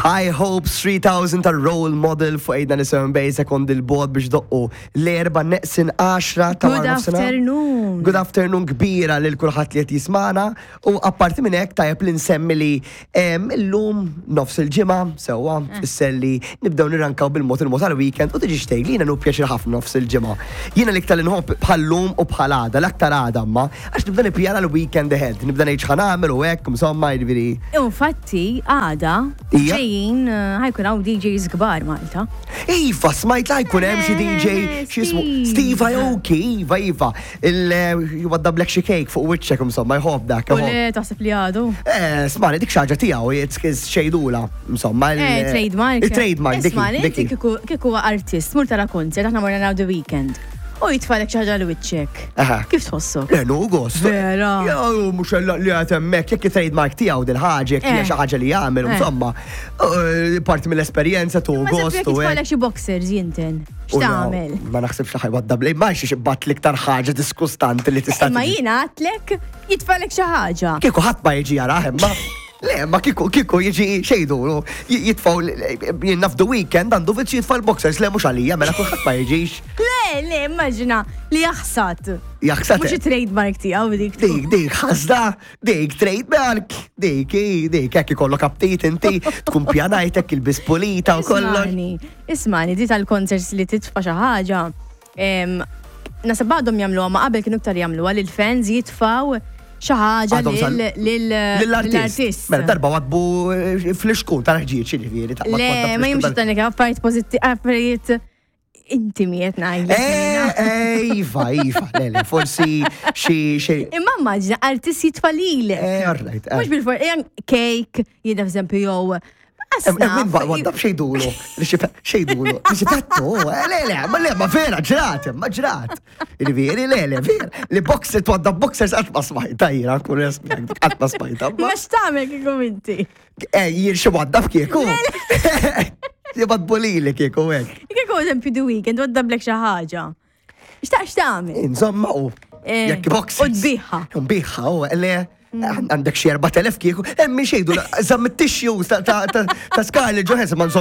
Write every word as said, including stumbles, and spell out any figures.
High Hopes three thousand ta' Role Model fuq Għidna Nisimgħu bej sekond il-bod biex doqqu l-erba neqsin għaxra ta' Good wara nofsinhar. Afternoon. Good afternoon kbira lil kulħadd li qed jismana u apparti minn hekk tajjeb li nsemmi li em, illum nofs il-ġimgħa sewwa tfisser li nibdew nirrankaw bil-mod il-mod għal-weekend u tiġi xtejg li jiena nu pjaċir ħafna nofs il-ġimgħa. Jiena l-iktar li nħobb bħal-lum u bħal għada, l-aktar għada ma għax nibda nippjana l-weekend ahead, nibda ngħid x'ħa nagħmel u hekk, insomma, jiġifieri. Infatti, għada, Ija. ġejjin, eh, ħa jkun hawn D Js kbar Malta. Iva, smajt la jkun hemm xi D J, Eh, xi jismu Steve. Steve Aoki, iva, iva. Il-jwaddablek xi cake fuq wiċċek, insomma, jħobb dak. U Jħobb. le taħseb li għadu? Eh, smani, dik xi ħaġa tiegħu, it's xejdula, insomma. il- Eh, trademark. Il-trademark, dik. Isma, inti Dik. kieku kieku artist, mur tara concert, aħna morna naraw The Weeknd. U jitfalek xi ħaġa l-wiċċek. Aha. Kif tħossok? Le, nu gost. Vera. Ja, mux li għat hemmhekk, jekk il-trademark tiegħu dil-ħaġa, jekk hija Eh. xi ħaġa li jagħmel, Eh. insomma, eh, parti mill-esperjenza tu Ma gost jekk u hekk. jitfalek xi boxers jinten. U no, X'tagħmel? Ma naħsibx li ħa jwaddabli, ma xiex bat l-iktar ħaġa diskustanti li tista' Imma tiġi. jiena għedtlek jitfalek xi ħaġa. Kieku ħadd ma jiġi jarah imma. Le, ma kieku kieku jiġi xejdu, jitfaw jien naf The Weeknd għandu vizzju jitfa' l-boxers, le mhux għalija, mela kulħadd ma jiġix. Le, le, immaġina li jaħsad. Jaħsad. Mhux il-trademark tiegħu dik. Dik, dik, ħasda, dik, trademark, dik, i, dik, hekk ikollok aptit inti, tkun pjanajtek il-bis pulita u kollox. Ismani, ismani, di tal-concerts li titfa xi ħaġa. em, Naħseb għadhom jagħmluha, ma qabel kienu iktar jagħmluha li l-fans jitfaw xi ħaġa Għadhom sal- lil- Lill-artist. lill-artist. Mela darba wadbu eh, fl-iskun tal-ħġieġ, ġifieri. ta' Le, ma jimx dan affarijiet pożitti, affarijiet intimi qed ngħidlek jiena. Eh, iva, iva, le, le, forsi xi xi. Imma immaġina artist jitfa' lilek. Eh, all right. eh. Mhux bil-for, cake, jiena f'eżempju jew. Min waddab xejdulu, xejdulu, xipettu, eh, le, le, ma le, ma vera, ġrat, ma ġrat. Ġifieri, le, le, vera, li boxer, twaddab boxers qatt ma smajta, jiena, kun resmiak, qatt ma smajta. ma- Ma x'tagħmel kieku inti? Eh, jien xi waddab kieku. Jibad bolili kieku hekk. Kieku eżempju The Weeknd waddablek xi ħaġa. X'taq x'tagħmel? Insomma, u Eh, jekk boxers. U tbiħha. U nbiħha, u le, għandek xi erbat elef kieku, emmi xejdu, żamm it-tissues ta' ta' ta' ta' Scarlett Johansson ma